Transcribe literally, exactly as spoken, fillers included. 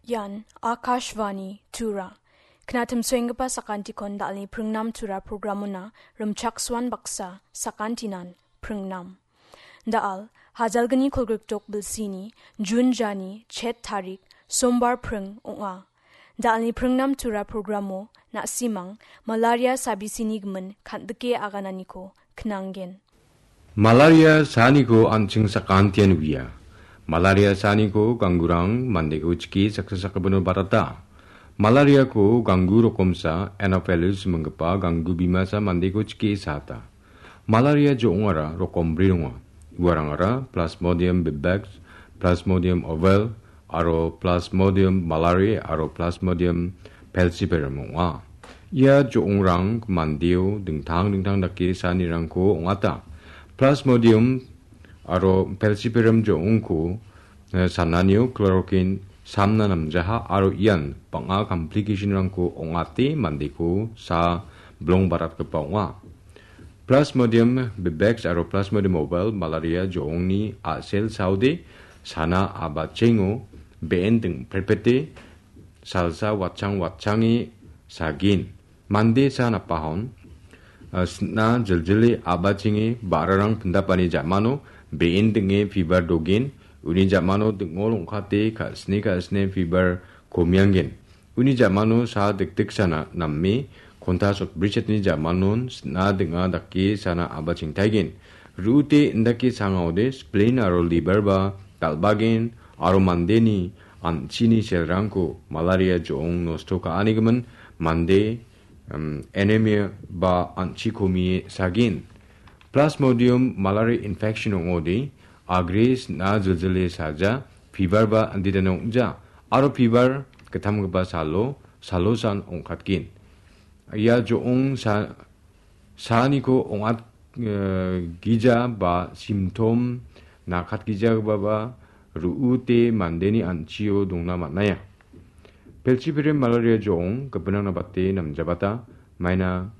Ian Akashvani Tura. Knatim soenggipa sakantikon dalni pringnam Tura programona rimchaksoan baksa sakantinan pringnam. Dal, hajalgni kolgrikdok bilsini, Jun jani, chet tarik, sombar pring ong·a. Dalni pringnam Tura programo, na·simang, malaria sabisini gimin kandike agananiko knanggen. Malaria saaniko an·ching sakantian uia. Malaria saaniko ganggurang mandeko chike saksa sakgipino barata. Malariako ganggu rokomsa Anopheles minggipa ganggu bimasa mandeko chike saata. Malaria jo·ongara rokom bri donga. Uarangara Plasmodium vivax, Plasmodium ovale, aro Plasmodium malariae aro Plasmodium falciparum ong·a. Ia jo·ongrang mandeo dingtang dingtang dake saanirangko ong·ata. Plasmodium aro falciparum jo·ongko, eh, sananio chloroquine samna namjaha aro ian bang·a complicationrangko ong·ate mandeko saa bilong baratgipa ong·a. Plasmodium vivax aro Plasmodium ovale malaria jo·ongni a·sel saode sana a·bachengo be·en dingpretpete salsa watchang watchange sagin. Mande sa napahon, ah, sna jiljile a·bachenge ba·rarang pindapani ja·mano be·en ding·e fiber dogin, uni ja·mano ding·ol ong·kate ka·sne ka·sne fiber komianggen. Uni ja·mano sa dikdiksana name konta sotbrichetni ja·manon sna ding·a dake sana a·bachengtaigen. Ru·ute indake sangaode spleen aro liver ba dal·bagen aro mandeni an·chini selrangko malaria jo·ong nosto ka·anigimin mande, um, anemia ba an·chi komie sagin. Plasmodium malaria infection ong·ode, agre sna jiljile saja, fiber ba andidana ong·ja, aro fiber gittamgipa salo, salosan ong·katgen. Ia jo·ong sa-, saaniko ong·at, eh, gija ba symptom nakatgijagipa ba ru·ute mandeni an·chio dongna man·aia. Pelchipirim malaria jo·ong gipinrangna bate namjabata, maina